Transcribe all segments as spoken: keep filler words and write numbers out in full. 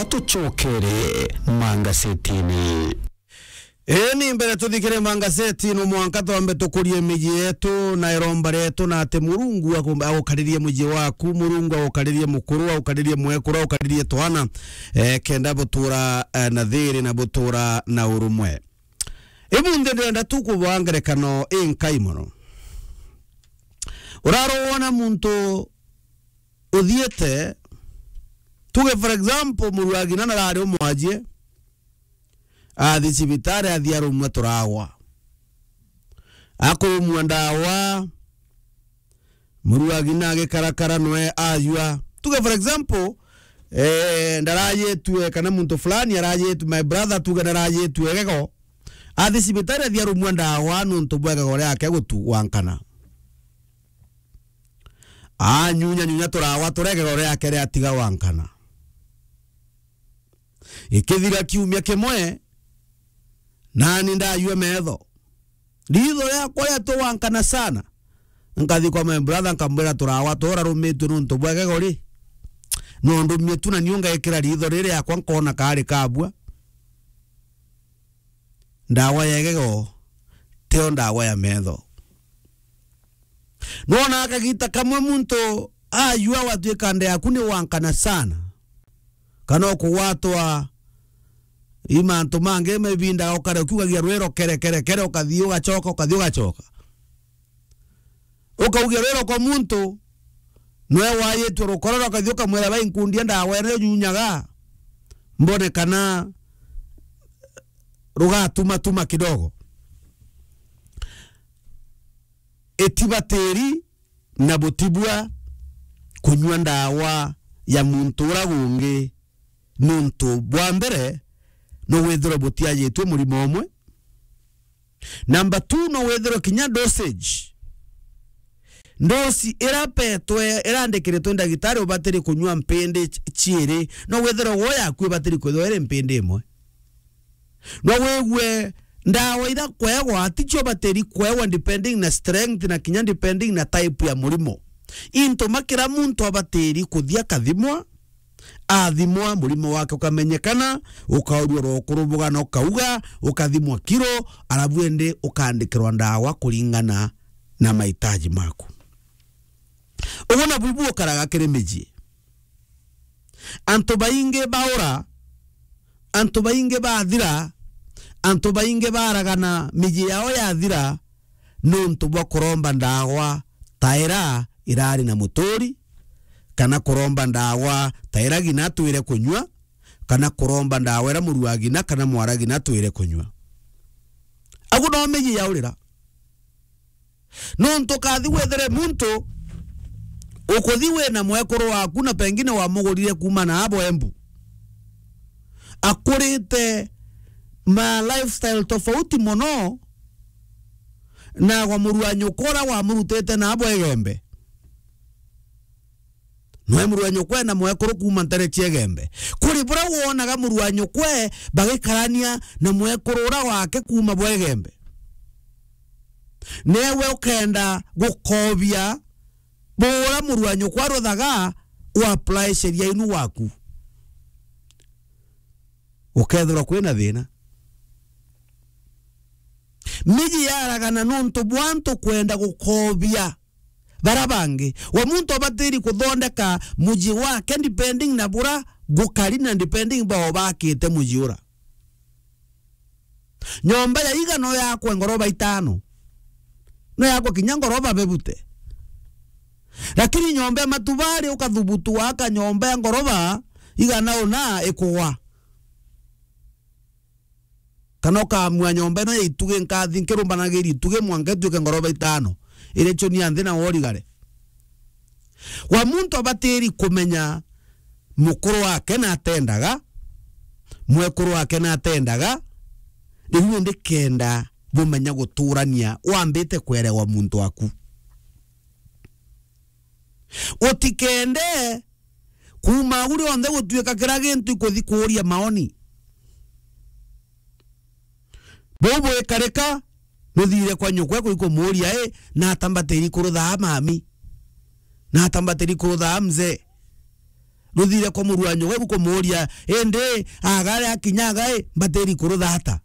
Tucokere mangasetini. Ii, ni mbere tuthikire mangaseti, no mwanka twambe tukurie miji yetu na iromba rietu, na ati Murungu agu-, agukaririe muji waku, Murungu agukaririe mukuru, agukaririe mwekuru, agukaririe twana, eh, kenda butura, eh, na thiri na butura na urumwe. Imunthi ndirenda tu kubaa ngerekano inkai mono. Urarwona muntu uthiite, tuge for example, muru wa ng'ina narari umwajie, athi cibitari, athi arumwa turawa. Akurumwa ndawa, muru wa ng'ina agikarakara nwe ayua. Tuge for example, eh, ndarajitue kana muntu fulani arajitue, my brother tuge narajitue gego, athi cibitari athi arumwa ndawa nuntu bwa gego riake gutu gwankana. Anyunya nyunya turawa turia gego riake riatiga gwankana. Ikithira kiumia kimwe, nani ndayua metho. Ritho riakwa riatua gwankana sana. Nkathi kwa my brother, nkamwira turawa turarumitue nuntu bwa gego ri. No ndumie tu na niu ngekira ritho riri riakwa nkona kari kabua. Ndawa ya gego, tio ndawa ya metho. Nwona kagita kamwe muntu ayua watuika nda yaku ni wankana sana, kana ukugwatwa i mantu mangi, mebinda ukare ukiugagia rwiro kere, kere, kere, ukathi ugacoka, ukathi ugacoka. Ukaugia rwiro kwa muntu, nwe wayitwe rukoro, ukathi ukamwira, "Bai, nkundia ndawa iria unyunyaga, mbone kana rugatumatuma kidogo." Itibatiri na butibua kunyua ndawa ya muntu ura gungi, nuntu bwa mbere, no withirwe butiajitwe murimo umwe. Number two, no withirwe kinya dosage. Ndosi ira petwe, irandikiritwe ndagitari ubatiri kunyua mpindi ch-, ciiri, no withirwe wo yaku ibatiri kwithirwa iri mpindi imwe. No wigue ndawa ira kwegwa, ticio batiri kwegwa depending na strength na kinya depending na type ya murimo. Into ma kira muntu abatiri kuthia kathimwa, athimwa, murimo wake ukamenyekana, ukaurua rokuru bugana ukauga, ukathimwa kiro, arabu indi ukandikirwa ndawa kuringana na mahitaji maku. Uguo nabu bukaraga kiri miji. Antu baingi baura, antu baingi bathira, antu baingi baragana, miji yao yathira, nuntu bwa kuromba ndawa ta ira irari na muturi, kana kuromba ndawa ta ira ng'ina atwire kunyua, kana kuromba ndawa ira muru wa ng'ina kana mwara ng'ina atwire kunyua. Agu no miji yaurira. Nontu kathi wethire muntu ukuthi wina mwekuru waku na pengine wamugurire kuuma na abo Embu. Akurite ma lifestyle tofauti mono na gwa muru wa nyuka uria wamurutite na abo Igembe. Nwe muru wa nyukwe na mwekuru kuuma ntere cia Igembe. Kuri buria wonaga muru wa nyukwe bagikarania na mwekuru uria wake kuuma bwa Igembe. Newe ukenda gukobia buria muru wa nyukwe aruthaga, u apply sheria inu waku. Ukethirwa kwina thina. Miji yaragana nontu bwa antu kwenda gukobia bara bangi. Wa muntu abatiri kuthondeka muji wake depending na bura gukari na depending bao bakite muji ura. Nyomba ya iga no yakwe ngoroba itano. No yakwe kinya ngoroba bebute. Lakini nyomba ya matubari ukathubutu waka nyomba ya ngoroba igana una ikugwa. Kana ukamua nyomba ino ya itugi, nkathi nkirumbanagiria itugi mwanka ituike ngoroba itano, iria cio ni ya nthi na worigare. Wa muntu abatiri kumenya mukuru wake na atendaga, mwekuru wake na atendaga, riu indi kenda bumenya guturania, wambite kwerewa muntu waku. Utikende kuuma au rionthe gutuika kira gintu ikuthi kuuria maoni. Buu bwikarika, nuthire kwa nyukwe kwi kumuuria, "I, nata mbatiri kuruthaa mami? Nata mbatiri kuruthaa mzee?" Ruthire kwa muru wa nyuga ibu kumuuria, indi agare akinya agai, mbatiri kuruthata.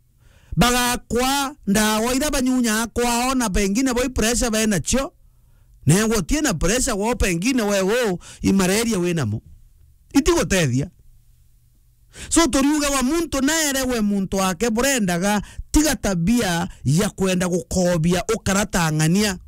Bagakwa ndawa ira banyunyaa kwao, na pengine bo i pressure benacio. Newe utie na pressure, wao pengine we u i malaria winamo. Itigutethia. So, turiuga wa muntu naerewe muntu wake burendaga, tiga tabia ya kwenda gukobia ukara ta ng'ania.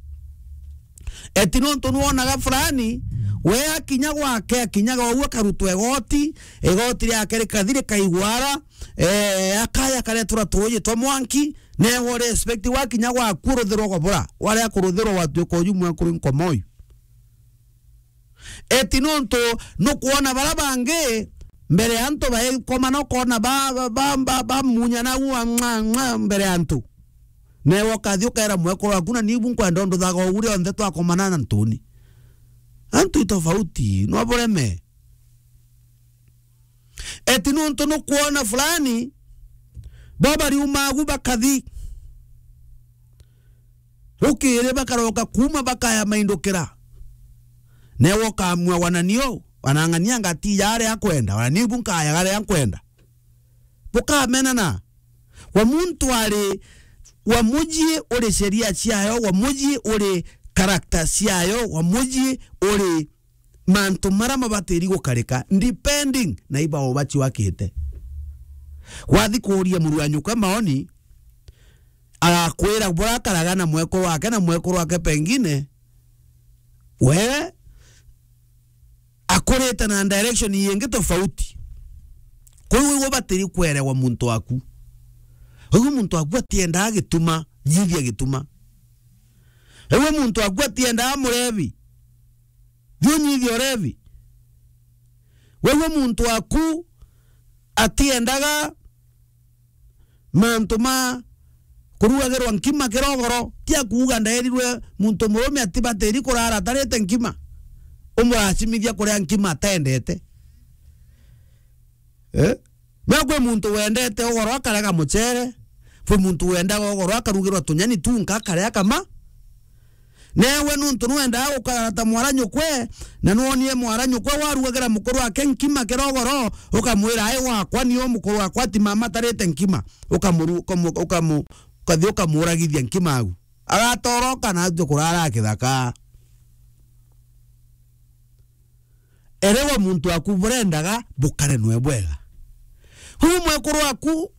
Eti nontu nwonaga fulani, we akinya gwake, akinyaga uu akarutwa igoti, igoti riake rikathi rikaigwara, eh, akaya karetura tuuji twa mwanki, newe respect wakinya gwaku uruthirwa gobura, waria kuruthirwa watuika uju mwekuru nkomoyu. Eti nontu nukwona bara bangi mbere ya antu baikomana, ukona ba, ba, ba, ba, bamunya na ua mwa, mwa mbere ya antu. Newe ukathi ukaira mwekuru waku, na nibu nkwenda undu thaga ugu rionthe twakomana na ntuni. Antu i tofauti, no bureme. Eti nontu nukwona fulani, bo bariuma agu bakathi. Rukiri bakaroka kuuma bakaya maindukira. Newe ukamua wananio, wanang'ania ngati ya aria akwenda, wananibu nkaya aria nkwenda. Bukamenana. Wa muntu ari, wa muji uri sheria ciayo, wa muji uri character ciayo, wa muji uri mantu mara mabatiri gukarika, depending na iba ubaci wakite. Wathi kuuria muru wa nyukwa maoni, agakwira bura akaraga na mwekuru wake, na mwekuru wake pengine we akurite na direction ingi tofauti. Kwou iwe ubatiri kwerewa muntu waku. Iwe muntu waku atiendaa gituma, nyithia gituma. Iwe muntu waku atiendaa murevi, thiu nyithia urevi. Wewe muntu waku atiendaga mantu ma kurugagirwa nkima kirogoro, ti akuuga ndaerirwe muntu murume atibatiri kurara atarite nkima, umuracimithia kuria nkima atendete. Eh? No kwi muntu wendete ugoro akarega mucere, kwi muntu wendaga ugoro akarugirwa tunyani tunka akaria kama. Newe nuntu nwendaa gukara ta mwara nyukwe, na nwonie mwara nyukwe warugagira mukuru wake nkima kirogoro, ukamwira, "Ai wakwa, ni u mukuru wakwa, ati mama atarite nkima." Ukamuru-, ukamu-, ukamu-, ukathi ukamuragithia nkima au. Agatoroka na atue kurara kithaka. Erewa muntu waku burendaga bukare nwe bwega. Huyu mwekuru waku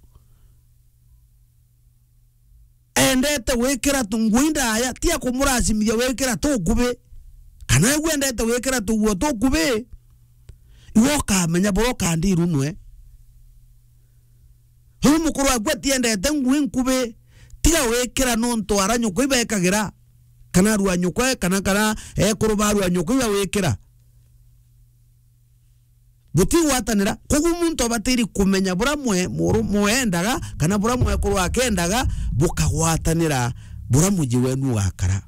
endete gwikira tu ngui ndaya, ti akumuracimithia wikira tukubi, kana egwe endete gwikira tuguo tukubi, iwe ukamenya buria ukandiru nwe. Uyu mukuru waku atiendete ngui nkubi, tiga wikira nontu ara nyukwa ibekagira, kana aru a nyukwa, kana, kana ekuru ba aru a nyukwa iba wikira. Butigwatanira, koguo muntu abatiri kumenya buria mwe-, muru-, mwendaga, kana buria mwekuru akendaga, bukagwatanira buria muji wenu ugakara.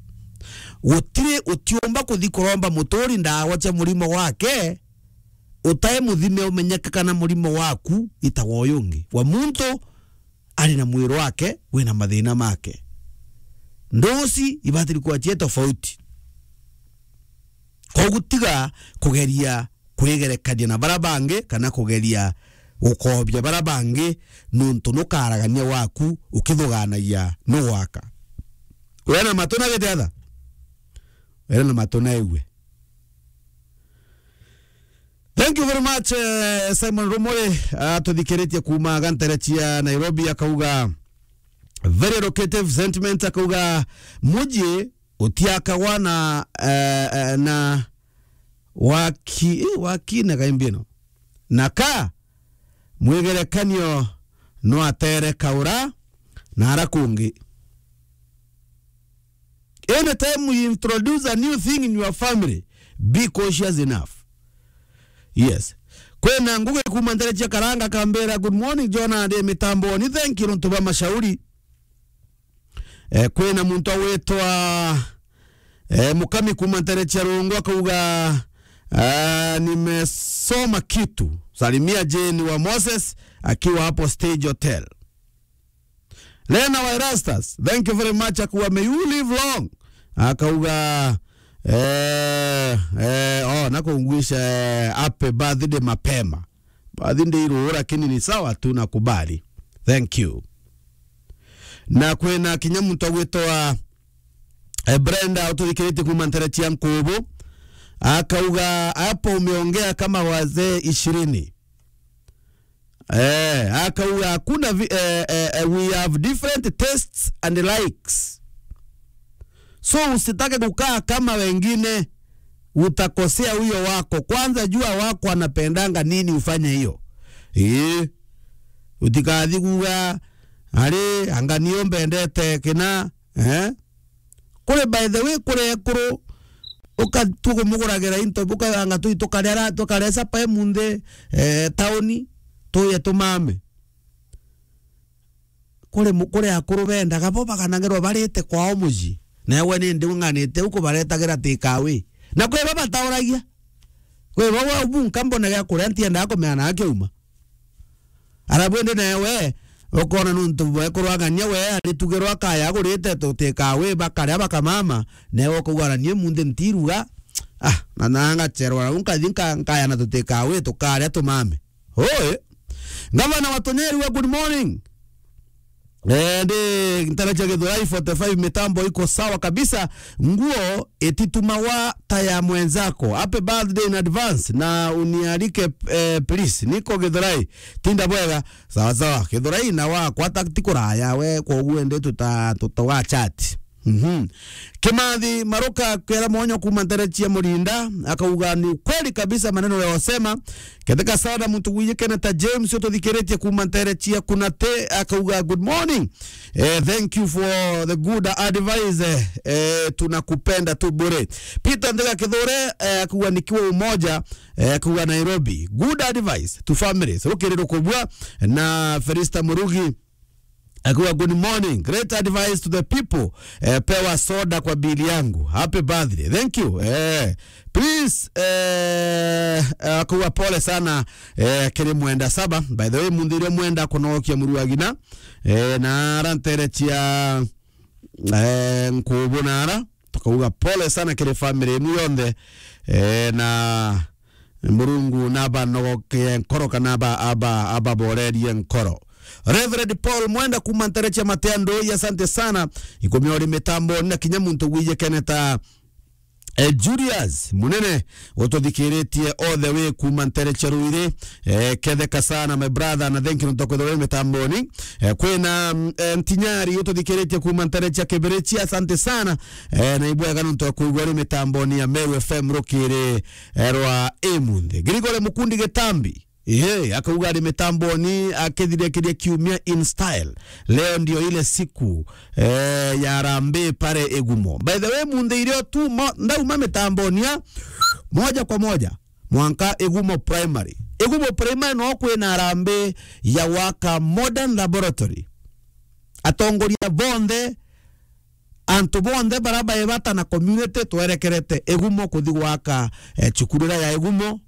Gutiri utiumba kuthi kuromba muturi ndawa cia murimo gwake, utai muthime umenyeke kana murimo waku itagwa uyu ungi. Wa muntu ari na mwiri wake wina mathina make. Ndusi ibatiri kuwa cie tofauti. Koguo tiga kugeria kwigerekania na bara bangi, kana kugeria gukobia bara bangi, nuntu nukaragania waku ukithuganagia nugwaka. Wena matu na gitiatha? Wena matu na igue. Thank you very much, eh, Simon Rumuri, atuthikiritie kuuma gantere cia Nairobi, akauga, very educative sentiment, akauga, muji utiakagwa na, eh, eh, na waki, eh, waki na gaimbi ino. Na ka mwigerekanio no atere kaura na ara kungi. Anytime you introduce a new thing in your family, be cautious enough. Yes. Kwina Ngugi kuuma ntere cia Karanga, Kambera, good morning, Jona, ndi mitamboni, thank you, nontu bwa mashauri. Eh, kwina muntu agwitwa, eh, Mukami kuuma ntere cia Rungu, akauga, ah, nimesoma kitu. Salimia Jane wa Moses akiwa hapo Stage Hotel. Lena wa Erastus, thank you very much, akauga, may you live long. Akauga, Eh, eh, oh, na kungwisha, eh, happy birthday mapema. Birthday iruo, lakini ni sawa tu, nakubali. Thank you. Na kwina kinya muntu agwitwa, eh, Brenda, ututhikiritie kuma ntere cia Nkubu. Akauga, "Hapo umeongea kama wazee ishirini." Eh, akauga, "Hakuna vi-, eh, eh, eh, we have different tastes and likes. So usitake kukaa kama wengine, utakosea huyo wako. Kwanza jua wako anapendanga nini, ufanye hiyo." Ii. Utikathi kuga, "Ari, anga nio mbendete kina." Eh? Kuri, by the way, kuri ekuru, uka-, tukumuguragira into, ukaganga tui, tukaria ra-, tukaria sapa emunthi, eh, tauni, tuye tumame. Kuri mu-, kuri akuru bendaga bo baganagirwa barite kwao mucii. Nawe nindi ung'anite u kubaretagira takeaway. Na kwi bo batauragia. Kwi bo, we, bu nka mbone gia kuria, ntiendaga kumenya na kiuma. Arabu indi nawe, ukona nuntu bwekuragania we, aritugirwa kaya agurite takeaway, bakaria bakamama, nawe ukauga, "Na nie munthi ntiruga, ah, na, na ngacherwa, na nkathi nka-, nkaya na takeaway, tukaria tumame." Oi. Gavana wa Tunyeri we, good morning. Eh, ndi ntara cia Githurai forty-five, mitambo iko sawa kabisa. Nguo ititumagwa ta ya mwenzako. Happy birthday in advance na unialike, eh, please. Niko Githurai. Tinda bwega. Sawa sawa. Githurai na wakwa ta ti kuraya we, kwa uguo ndi tuta-, tutoga chat. Mhm. Kimathi Maruka kwera mwonyo kuma ntere cia Murinda, akauga, "Ni ukweli kabisa maneno ya wasema." Ketheka sana muntu gwijikene ta James ututhikiritie kuma ntere cia Kunate, akauga, "Good morning. Eh, thank you for the good advice. Eh, eh, tunakupenda tu bure." Peter Ndega Kithure, eh, akauga, "Nikiwa Umoja," eh, akauga, "Nairobi. Good advice to families." Rukiri rukubwa na Felista Murugi, akauga, "Good morning. Great advice to the people. Eh, pewa soda kwa bili yangu. Happy birthday." Thank you. Eh, please, eh, akauga, "Pole sana, eh, kiri mwenda saba." By the way, munthi irio mwenda kunokia muru agina. Eh, na ara ntere cia, eh, Nkubu na ara. Tukauga pole sana kiri family inu yonthe. Eh, na Murungu nabanogokie nkoro kana aba-, aba-, ababorerie nkoro. Reverend Paul Mwenda kuma ntere cia Matea Ndui, asante sana. Ikumi ori mitambo na kinya muntu gwijikene ta, eh, Julius Munene ututhikiritie all the way kuma ntere cia Ruiri. Eh, ketheka sana my brother, na thank you nontu kwithirwa uri mitamboni. Eh, kwina, mm, eh, Ntinyari ututhikiritie kuma ntere cia Kibirichi, asante sana. Eh, na ibwega nontu kwigua uri mitamboni ya Meru F M rukiri, eh, rwa imunthi. Gregory Mukundi Gitambi, ehe, akauga ari mitamboni akithirikiria kiumia in style. Leo ndio ile siku, eh, ya harambee pale Igumo. By the way, munthi irio tu mo-, ndauma mitamboni ya moja kwa moja mwanka Igumo Primary. Igumo Primary no kwina harambee ya gwaka modern laboratory. Atongoria bonthe, antu bonthe bara baibata na community twerekerete Igumo kuthi gwaka, eh, cukuru iria ya Igumo,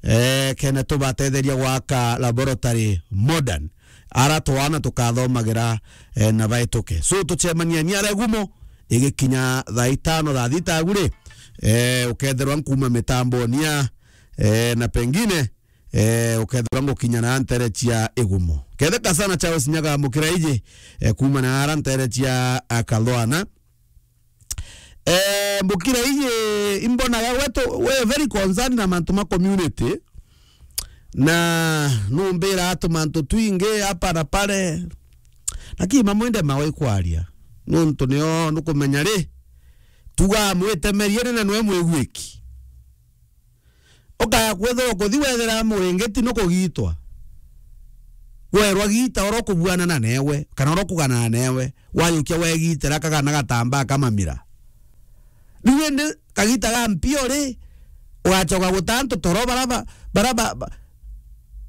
eh, kene tubatetheria gwaka laboratory modern. Ara twana tukathomagira, eh, na baituke. So, tucemania ni ara Igumo, igikinya thaa itano, thaa thita agu ri, eh, ukethirwa nkuma mitamboni ya, eh, na pengine, eh, ukethirwa ngukinya na ntere cia Igumo. Ketheka sana Charles Nyaga Mukiraiji, eh, kuma na ara ntere cia, ah, Kathwana. Eh, Mukiraiji, imbonaga we tu-, we very concerned na mantu ma community. Na numbira atu mantu twingi hapa na pale. Lakini mamwe ndemaga ikwaria. Nuntu nio nukumenya ri, tuga mwitemerie ni na nwe mwigwiki. Ukaya kwithirwa kuthi wethira muringiti nukugitwa. Werwa gita oro kubuanana newe, kana oro kuganana newe. Wayukia wegitira kagana gatambaa kamamira. Riu indi kagita ga mpio ri, ugacoka guta antu toro bara ba-, bara ba-, ba-,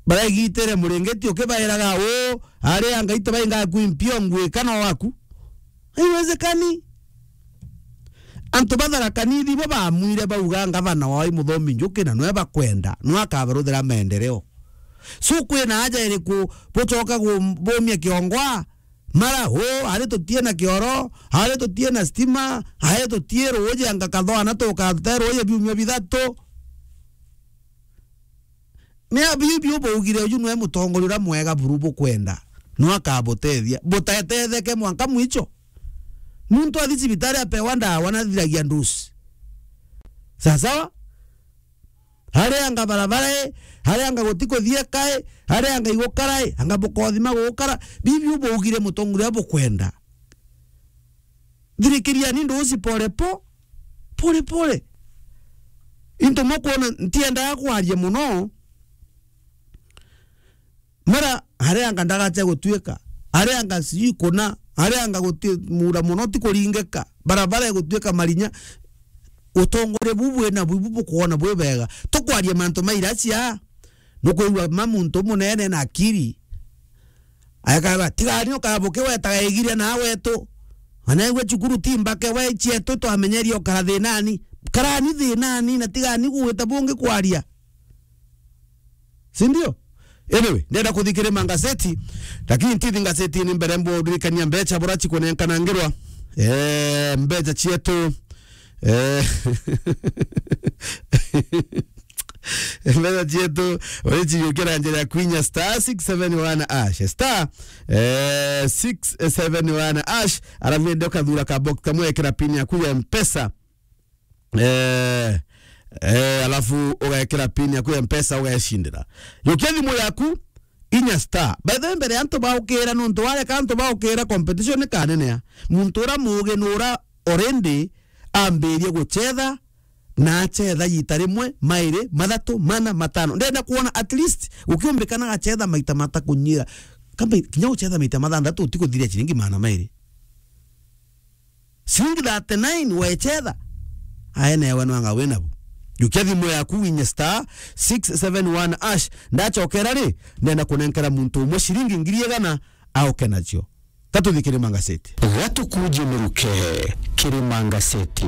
baregitire muringiti ukibairaga uu, ari anga itu bainga kwi mpio ngwika no waku. Haiwezekani. Antu ba Tharaka Nithi bo bamwire bauga ngavana wao i Muthomi Njuki na nwe bakwenda, nwe akabaruthira maendeleo. So kwina haja iriku bucoka gu-, bumia kiongoa? Mara, o, ari tutie na kioro, ari tutie na stima, ari tutie ruuji, anga kathoana tukate ruuji biumia bithatu. Ni a bibi ubaugire uju nwe mutongoria uria mwega buru bukwenda. No akabutethia. Butetetheke mwanka mwicho. Muntu athi cibitari apewa ndawa na athiragia ndusi. Sawa sawa? Aria anga barabara e, aria anga guti kuthia kae, aria anga igukara e, anga bukothima gukara. Bibi ubaugire mutongoria bukwenda. Thirikiriani ndusi pole po, pole pole. Into mukwona ntiendaga kwaria muno. Mara, aria anga ndagacha gutuika, aria anga sijui kuna, aria anga guti mura muno ti kuringika, barabara igutuika marinya. Utongoria bu bwina bu, bu bukwona bwi bega. Tukwaria mantu mairacia, nukwigua ma muntu munene na akiri. Aekaga, tigani ukabuke wetaga igire na wetu. Anaigua cukuru ti mbake we cietu twamenyeria ukara thinani. Karani thinani na tigani gwita bungi kwaria. Si ndio? Anyway, ndenda kuthikiri mangazeti, lakini ntithi ngazetini mbere mburirikania mbecha bura chikunenkanangirwa. Eh, mbecha chietu. Eh, mbecha chietu, urichiukira njira ya kwinya star six seven one hash. Star, eh, six seven one hash. Arafu ndio kathura ka box kamwe, ekira pin yaku ya Mpesa. Eh, eh, alafu ugekira pin yaku ya Mpesa, ugecindira. Yukia thimu yaku, inya star. By the way, mbere antu baukira, nontu wareka antu baukira, competition ni kanenea. Muntu ura mugi nura already ambirie guchetha, na achetha yita rimwe, mairi, mathatu, mana, matano. Ndenda kuona at least ukiumbikana gachetha maita matakunyira. Kamba kinya uchetha maita mathanthatu utikuthiria ciringi magana mairi. Ciringi thirty-nine wechetha. Aenewe nwanga winabu. Jukia thimu yaku winye star six seven one hash. Ndachokera ri, ndenda kunenkera muntu umwe ciringi ngiri igana auke nacio. Katuthikire mangazeti. Gatukuje miruke kiri mangazeti.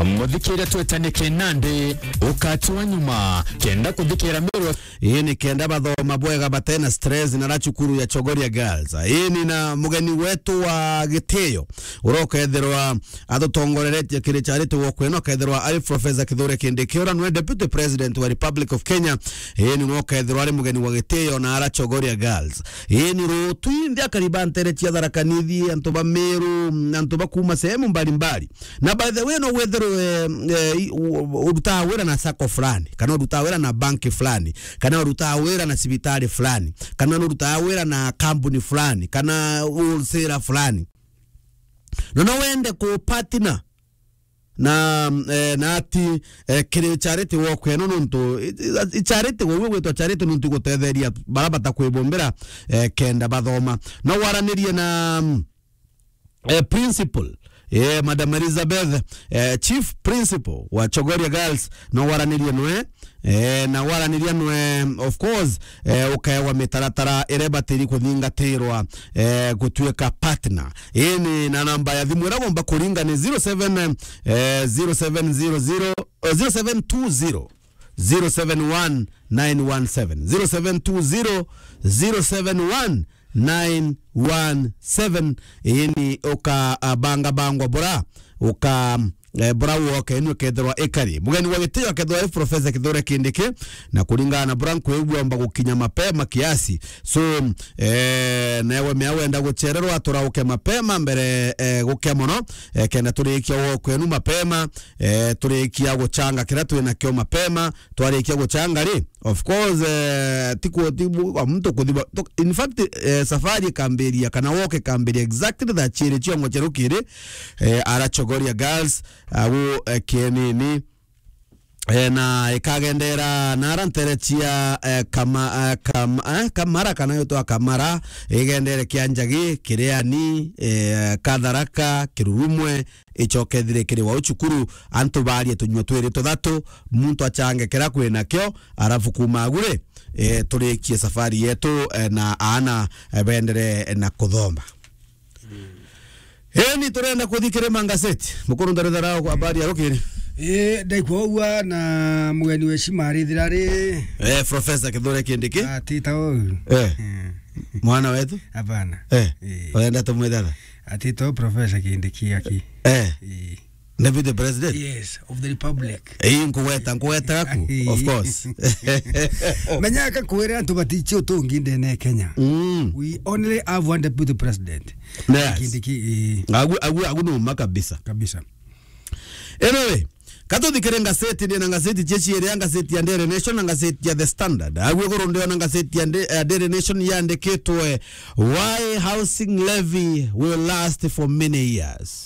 Muthikire twetane kenande ukati wa nyuma kenda kuthikira Meru. Ii ni kenda bathoma bwega batena stress na ra cukuru ya Chogoria Girls. Ii ni na mugeni wetu wa gitio urokethirwa athutongoreretie kiri charity walk ino, akethirwa ari Professor Kithure Kindiki, ura nwe Deputy President wa Republic of Kenya. Ii ni nwe ukethirwa ari mugeni wa gitio na ara Chogoria Girls. Ii ni rutu indi akari ba ntere cia Tharaka Nithi, antu ba Meru, antu ba kuma sehemu mbalimbali. Na by the way, no wethirwe, eh, eh, i-, u-, u-, urutaga wira na sacco fulani, kana urutaga wira na banki fulani, kana urutaga wira na cibitari fulani, kana urutaga wira na kambuni fulani, kana wholesale fulani. No, no wende ku partner na, eh, na ati, eh, kiri charity walk eno nontu, i, i, i charity, gwe gwitwa charity nontu igutetheria bara batakwibombera, eh, kenda bathoma. No waranirie na, mm, eh, principal, eh, Madam Elizabeth, eh, chief principal wa Chogoria Girls, no waranirie nwe, eh, na waraniria nwe, of course, eh, ukaewa mitaratara iria ibatiri kuthingatirwa, eh, gutuika partner. Ii ni na namba ya thimu iria ugomba kuringa ni zero seven, eh, zero seven zero zero, eh, zero seven two zero, zero seven one nine one seven, zero seven two zero, zero seven one nine one seven. Ii ni uka, ah, banga bangwa bura, uka, eh, bura woke ni ukethirwa ikari. Mugeni wa gitio akethirwa ari Professor Kithure Kindiki, na kuringana na bura nkwigua omba gukinya mapema kiasi. So, eh, newe mea wenda guchererwa, turauke mapema mbere, eh, gukia mono, eh, kenda turikia walk enu mapema, eh, turikia guchanga kiria twinakio mapema, twarikia guchanga ri, of course, eh, ti ku-, ti bu-, kwa muntu kuthiba. To-, in fact, eh, safari ikambiria, kana walk ikambiria exactly thaa chiiri ciongo cia rukiri, eh, ara Chogoria Girls, agu, eh, Kienini, eh, na ikagendera nara ntere cia, eh, Kama-, eh, Kam-, eh, Kamara, kana yotwa Kamara, igendere Kianjagi, Kiriani, eh, Katharaka, Kirurumwe, icoke ithire kiri wau cukuru, antu barie tunyua twiri tuthatu, muntu achange kira kwinakio, arafu kuma agure, eh, turikie safari yetu, eh, na aana, eh, bendere na kuthoma. Eni turenda kuthi kiri mangazeti. Mukuru ndarithara kwa habari ya rukiri. Eh, ndaikwa ugwa na mugeni wa heshima arithira ri. Eh, Professor Kithure Kindiki. Ah, tita uu. Eh. Eh. Mwana wetu? Hapana. Eh. Eh. Urenda tumwite atha? Ati to Professor Kindiki aki. Eh. Eh. Deputy President? Yes, of the Republic. Eh, nkugweta, nkugweta gaku, of course. Menya ka kwira antu batichi utungi ndene Kenya. Mm. We only have one Deputy President. Yes. Kindiki, eh. Agu, agu, agu ni uma kabisa. Kabisa. Anyway, katuthikire ngaceti, ndina ngaceti cia ciiri, ya ngaceti ya Daily Nation na ngaceti ya The Standard. Agu iguru ndiona ngaceti ya Nda-, ya Daily Nation yandikitwe, "Why housing levy will last for many years."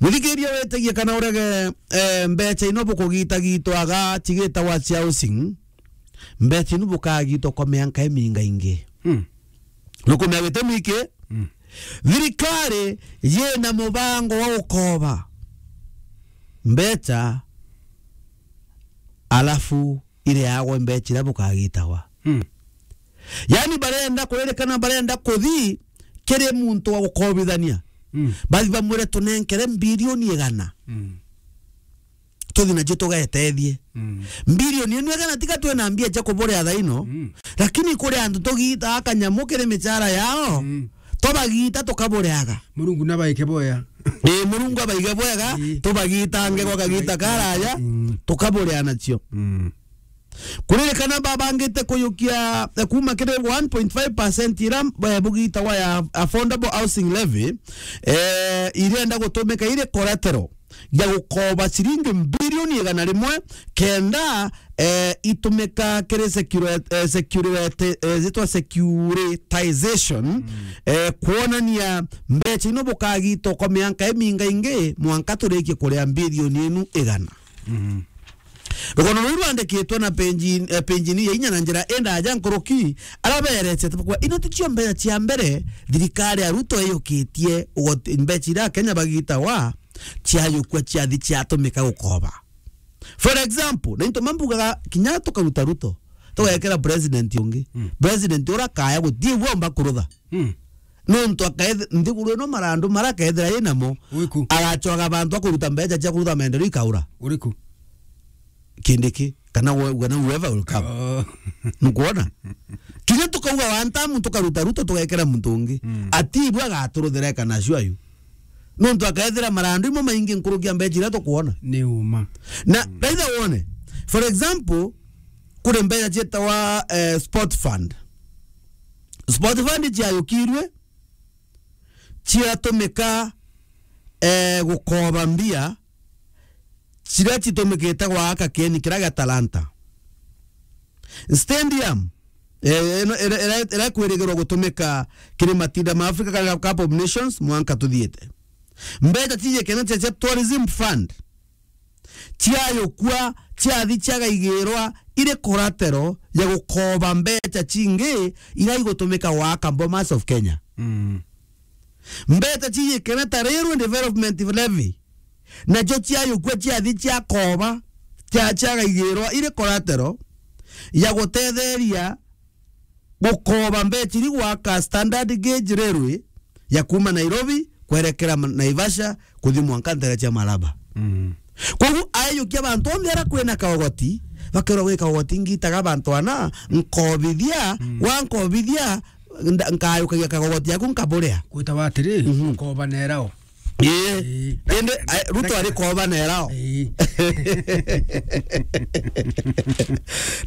Muthikiria, witigie kana urege, eh, mbecha ino bukugitagitwaga cigitagwa cia housing, mbecha ino bukagitwa kwa mianka iminga ingi. Hmm. Nukumenya gitumi ki? Mm. Thirikari yina mubango wa gukoba mbecha, alafu ireagwe mbecha iria bukagitagwa. Mm. Yani, barenda kuririkana, barenda kuthi kiri muntu wa gukobithania. Mm. Bathi bamwire, "Tunenkere mbirioni igana." Mm. Tuthi nacio tugetethie. Mm. Mbirioni ino igana, tiga twina mbia cia kuburia thaino, mm, lakini kuri antu tugiitaga kanyamu kiri michara yao, mm, tubagita tukabureaga. Murungu nabaike boya. Ii, Murungu abaige bwega, ii, tubagitange gwa kagita karaya, mm, tukaburea nacio. Mm. Kuririkana babangite kuyukia, eh, kuma kiri one point five percent ira, eh, bugitagwa ya Affordable Housing Levy, eh, irenda gutumika iri collateral ya gukoba ciringi mbirioni igana rimwe, kenda, eh, itumika kiri security, eh, security, eh, zitwa securitization, mm, eh, kwonania mbecha ino bukagitwa kwa mianka iminga ingi, mwanka turikie kuria mbirioni inu igana. Mm. Rugono ruu rwandikitwe na penji-, eh, penjini ya inya na njira indaja nkuruki, araberetie tukwa ino ticio mbecha cia mbere thirikari ya Ruto iyukitie ugoti-, mbecha iria Akenya bagitagwa ciayukua ciathi ciatumika gukoba. For example, na into mambugaga kinya tukaruta Ruto, tugekera president ungi. Mm. President ura kaya gutie gwa omba kurutha. Mm. Nontu akaeth-, nthiguru ino marandu mara akethira inamo, uriku? Agacwaga bantu akuruta mbecha cia kurutha maendeleo ikaura. Uriku? Kindiki, kana we-, kana whoever will come. Oh. Nukwona? Kinya tukauga one term tukaruta Ruto tugekera muntu ungi. Mm. Ati ibu agaturuthira kana sure you. Nontu akethira marandu imo maingi nkuruki ya mbecha iria tukwona. Ni uma. Na, mm, raitha wone. For example, kuri mbecha cietawa, eh, sport fund. Sport fund ciayukirwe, ciatumika, eh, gukoba mbia, ciria citumikite gwaka kieni kiria gia Talanta. Stadium, eh, ino, ira, ira, ira kwirigirwa gutumika kiri matinda ma Africa kana Cup of Nations mwanka tuthiite. Mbecha cijikene cia, cia Tourism Fund, ciayukua, ciathi ciagaigirwa iri collateral ya gukoba mbecha cingi iria igutumika gwaka Bomas of Kenya. Mm. Mbecha cijikene ta Railway Development Levy, nacio ciayukua, ciathi ciakoba, cia-, ciagaigirwa iri collateral ya gutetheria gukoba mbecha iri gwaka standard gauge railway ya kuma Nairobi kwerekera Ma-, Naivasha kuthi mwanka ntere cia Malaba. Mm. Koguo ayukia bantu onthe ara kwina kaogoti, bakerwa gwi kaogoti ngitaga bantu ana, nkobithia, mm, wankobithia, nda-, nkayukagia kaogoti yaku nkaburia. Gwitawa atiri, mhm, gukoba nerao. Ii. Ii. Indi, ai, Ruto ari koba nerao. Ii.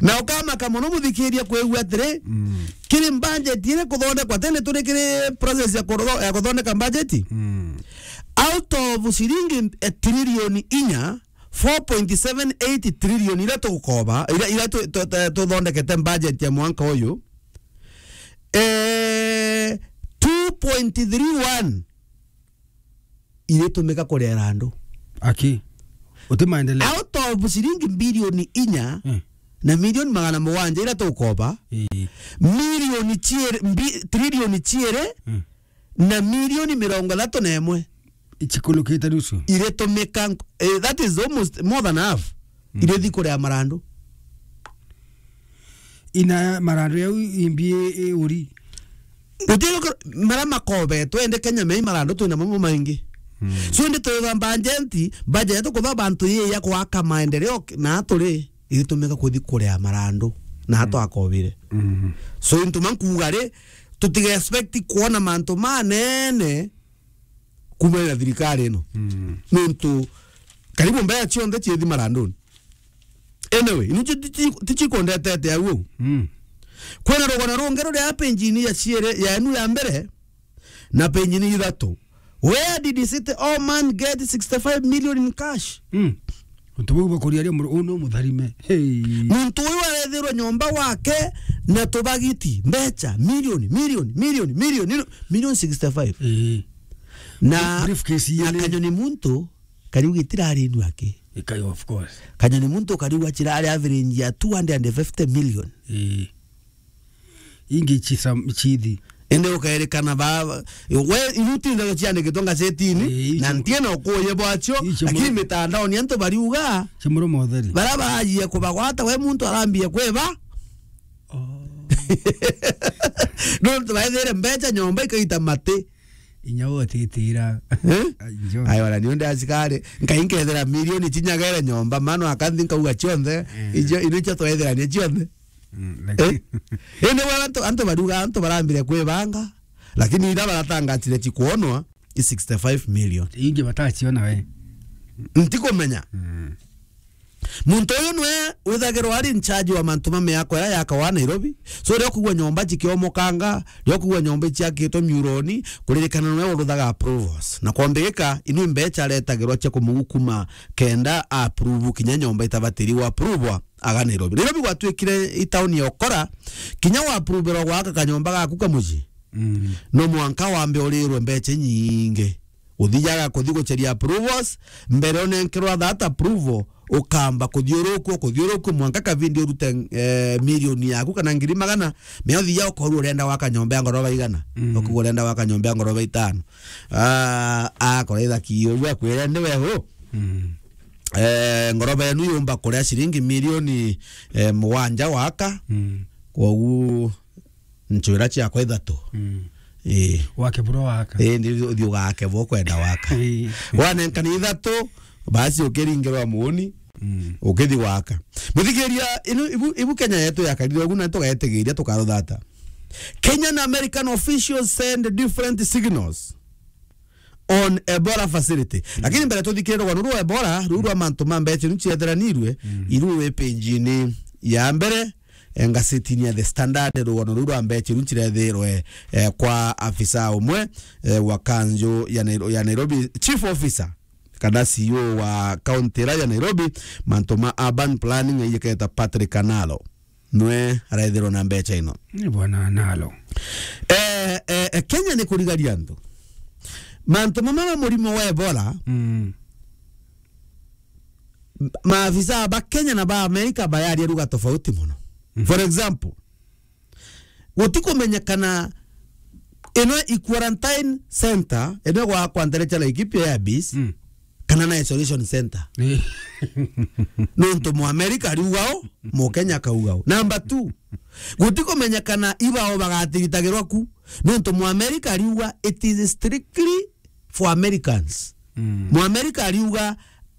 Na ukamaka mono muthikiria kwigua atiri, mm, kiri budget iri kuthondekwa, tene turi kiri process ya kutho-, ya kuthondeka budget. Mm. Out of ciringi, eh, trilioni inya, four point seven eight trilioni iria tugukoba, iria, iria tu-, tu-, tu-, tuthondekete budget ya mwanka uyu, eh, two point three one iritumika kurera andu. Aki. Uti maendeleo. Out of ciringi bilioni inya, mm, na milioni magana mugwanja iria tukoba, ii, milioni ciiri, mbi-, trilioni ciiri, mm, na milioni mirongo ithatu na imwe. Ichikulukite nusu. Iritumika nk-, eh, that is almost more than half. Mm. Irithi kuria marandu. Ina marandu yau imbi i uri. Gutiga kor-, mara makobetwe, ende Kenya mei marandu twina mamo maingi. Mm. So, indi twitha budget, budget tukutha bantu yi ya gwaka maendeleo k-, na turi, iritumika kuthi kuria marandu. na hatwakobire. Mm. So, into mankuga ri, tutiga expect kuona mantu manene kumana na thirikari ino. Mm. Nontu karibu mbeca cionthe ciethi maranduni. Anyway, inu ti, ti, ti, tichikondetete au. Mm. Kwina rugano rungi ruri a page-ini ya ciere, ya enu ya mbere, na page-ini ithatu. Where did he say all man get sixty-five million in cash? Mm. Untu bau bakuria ria muru-, unu mutharime. Hey. Muntu uyu arethirwe nyomba wake na tubagiti, mbeca, million, million, million, million, million, million sixty-five. Ii. Na, briefcase na yene. Kanyoni muntu, kariu gitirari inu aki. Ika, of course. Kanyoni muntu kariu gachirari average ya two hundred and fifty million. Ii. Ingi chisa-, chithi. Indi ukairikana ba, we, iru tindaga ciandikitwe ngazetini, ii, na ntiena ukuye bwacio, icio lakini mu-, mitandaoni antu bariuga, cia muromo utheri. Bara barajia kubagwata, we muntu arambia kwiba. Oh. Nontu baithire mbeca nyomba ikaita mati. Inya utitira. Eh? Ai, njo. Ai, wala ni unde asikari, nkai nkethira milioni chinyagere nyomba, mano akanthi nkauga chionthe, eh, ijo, ino icho twethirania chionthe. Mm, eh? Lakini indi we antu, antu baruga, antu barambire kwibanga, lakini ira baratangatire chikuonwa i sixty-five million. Ingi batachiona we. Ntikumenya. Mm. Muntu uyu niwe withagirwa ari in charge wa mantu ma miako iria yakawa Nairobi. So, ria kugua nyomba chikiomokanga, ria kugua nyomba ichiakitwe miuroni, kuririkana niwe uruthaga approvals. Na kwambirika, inu mbecha aretagirwa chia kumugukuma kenda approve kinya nyomba itabatiri wa approve aga Nairobi. Nairobi gwatuikire i town ya ukora, kinya wa approverwa gwaka kanyomba gaku ka mucii. Mm. No mwanka wambe urirwe mbecha inyingi. Uthijaga kuthi gucheria approvals, mbere unenkerwa that approval, ukamba kuthiurukua, kuthiurukua, mwanka kavindi urute, eh, milioni yaku kana ngiri magana, me uthija ukorwa urenda gwaka nyomba ya ngoroba igana, mm, ukauga urenda gwaka nyomba ya ngoroba itano. Ah, akora ithaki, uria akwire, "Ni we hu?" Mm. Eh, ngoroba yenu yumba kuria ciringi milioni, eh, mugwanja waka. Mm. Kwogu nchwira ciakwa ithatu. Mm. Ii. Wake buro waka. Ii, ndi uthi ugake bo kwenda waka. Ii. Wanenkana ithatu, basi ukiringirwa muuni, mm, ukithi waka. Muthikiria, inu, ibu, ibu Kenya yetu yakarire ugu na tugetigiria tukaruthata. Kenyan American officials send different signals on Ebola facility. Mm. Lakini mbere tuthikire rugano rwa Ebola, ruu rwa mantu ma mbecha nu ciethiranirwe, mm, iru wi page-ini ya mbere, eh, ngazetini ya The Standard, rugano ruu rwa mbecha nu cirethirwe, eh, kwa afisa umwe, eh, wa kanju ya Nairo-, ya Nairobi, chief officer, kana C E O wa county ira ya Nairobi, mantu ma urban planning, aiyeketa Patrick Analo. Nwe araethirwa na mbecha ino. Ni bwana Analo. Eh, eh, eh, Kenya ni kurigaria antu. Mantu mama ma murimo wa Ebola, mm, maafisa ba Kenya na ba Amerika bayaria lugha tofauti muno. Mhm. For example, gutikumenyekana ino i quarantine center, ino gwakwa ntere cha Laikipia ya base, mm, kana na isolation center. Eh. Nontu Muamerika ariuga o, Mukenya akauga o. Number two, gutikumenyekana ibao bagatiritagirwa ku. Nontu Muamerika ariuga it is strictly for Americans. Mm. Muamerika ariuga